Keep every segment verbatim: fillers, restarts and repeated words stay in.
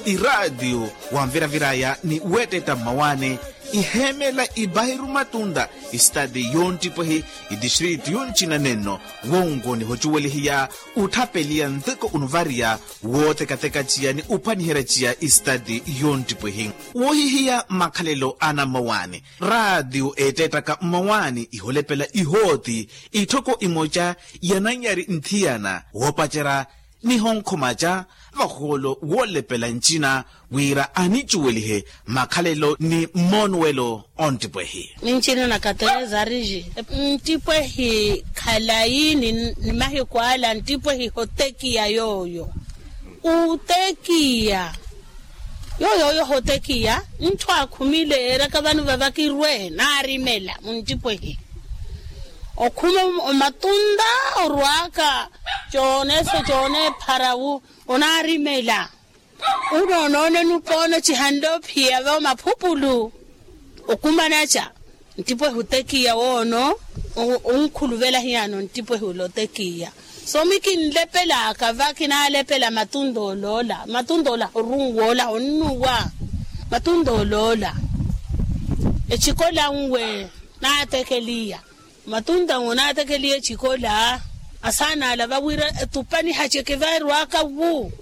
Iraatiyo wanviraviraya ni weettetta mmawaani, iheemela ibairu matunda, istati yonttipwehi, itistritu yoncina nenno, wonko nihocuwelihiya, utthapeliya nteko unuvariya, wootekateka ciya ni uphwaniherya ciya istati yonttipwehi. Woohihiya makhalelo ana mmawaani, raatiyo eettettaka mmawaani iholepela ihooti, itthoko imoca yananyari nthiyana woopacerya, nihonkhoma ca vahoolo woolepela ncina, wira anicuwelihe makhalelo ni mmoonuwelo. Onttipwehi. Nincina na katereza ariji nttipwehi khalayi ni mahiku ala nttipwehi hotekiya yooyo. Utekiya yooyo oyo hotekiya ntthu akhumile eraka vano vavakirwe naarimela munttipwehi. Okhuma omatunta orwaka coonese coonepharawu onaarimela. Uno onoonene upoona cihanle ophiyava omaphupulu. Okumanaca nttipwehi otekiya woono. Onkhuluvela hiyano nttipwehi ula otekiya. Soomi kinlepelaka va kinaalepela matunta oloola matunta ola horunwoola honnuwa. Matunta oloola ecikola nwe naatekeliya. Matunta nwe naatekeliya ecikola asaana ala vawira etupa nihaceke vaerwaka wu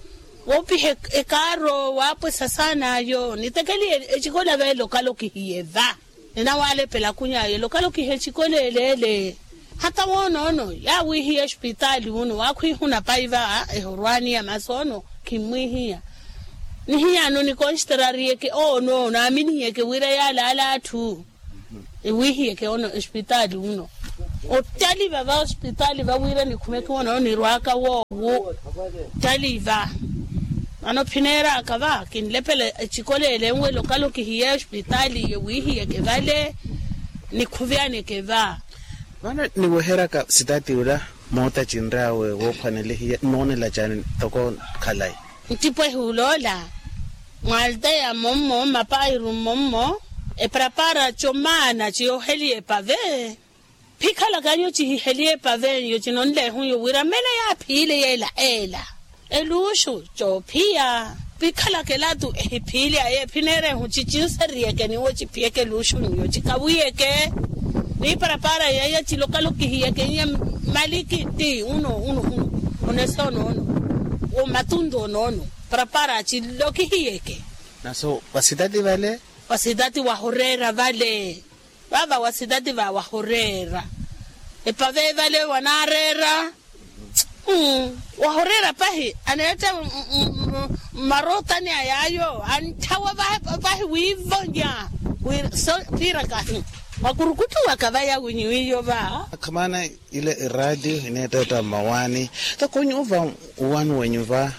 woopiha ekaaro waapwesa saana ayo nitekeliye. Ecikola veele okalokihiye va ninawalepela kuny'aye lokalokiha ecikola eleele. Hata woonoono yaawiihiya espitaali wuno waakhwiihuna pai va ehorwaani ya masoono. Khimmwiihiya nihiyano nikonxterariyeke oonoono aaminihiyeke wira yaalaala atthu. Ewiihiyeke ono espitaali wuno ottaliva va ospitaali vawira nikhumeke woonoono nirwaka woowo. Ttaliva vano phineeraka va kinlepela ecikola ele nwe lokalokihiye ospitaali ewiihiyeke vale. Nikhuvyaneke va. Vano niweheryaka sitaati ula moota cinry'awe woophwanelihiya nnoonela caani ntoko khalayi. Nttipwehi uloola mwaalteya mmommo mmapairu mmommo eparapara comaana ciyooheliye epave. Phikhalaka nyo cihiheliye epavenyo cinonleehunyo wira mmene yaaphiile yeela eela eluuxu coophiya. Phikhalaka elatu ehiphiile aye phineerehu cicinseriyeke niwo ciphiyeke eluuxunyo cikawiyeke. Niparapara yaya cilokalokihiyekenye malikiti uno uno uno onese onoono wo matuntu onoono parapara cilokihiyeke. Naso vasitati vale vasitati wahoreera vale. Vava wasitati va wahoreera epave vale wanaareera. Wahoreera pahi aneetta mmarootani a yaayo antthawa pahi wiivonya. Piiraka hi wakurukuttuwaka vaya winyi wiiyo va. Akhamana ile eraatiyo ineettetta mmawaani. Toko nyuva uwani wenyu va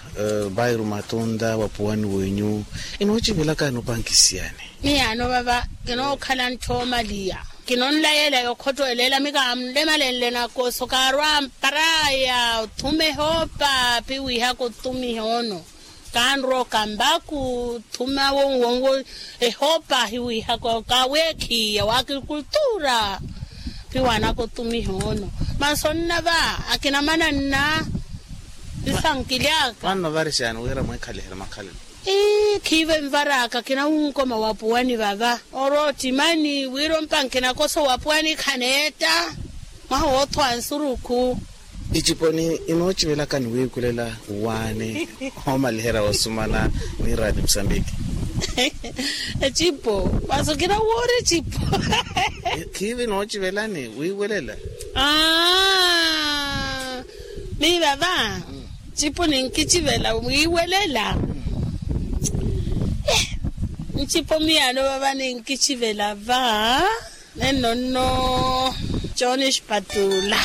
vairu matunta wapuwani wenyu inoocivilaka inopankisiyani. Miyaano vava kinookhala ntthomaliya kinonlayela yokhottowelela mikaamlemalenle nakoso kaarwa amparaya othuma ehoopa piwihaka otumiha ono. Kaanrwa okambaku othuma wonwonwo ehoopa ahiwihaka kaaweekhiya wa agrikultura. Piwanaka otumiha ono masi onnava akina mananna. Sisankilyaka. Mwanno varixani wira mweekhaliherya makhalelo. Ii khiive nvaraka kinawunkoma wapuwani vava oroottimani wira ompanke nakoso wapuwani khaneetta. Mwaha woothowa nsurukhu. Iciponi inoocivelaka ni wiikulela waani oomaliherya woosumana ni raati musambiki. Ecipo masi okina woori ecipo. Khiivi noocivelani wiiwelela. Aaa. Miiva va ncipo ninkicivela wiiwelela. Ncipo miyaano vava ninkicivela va nenno nno. Cooni xipatula.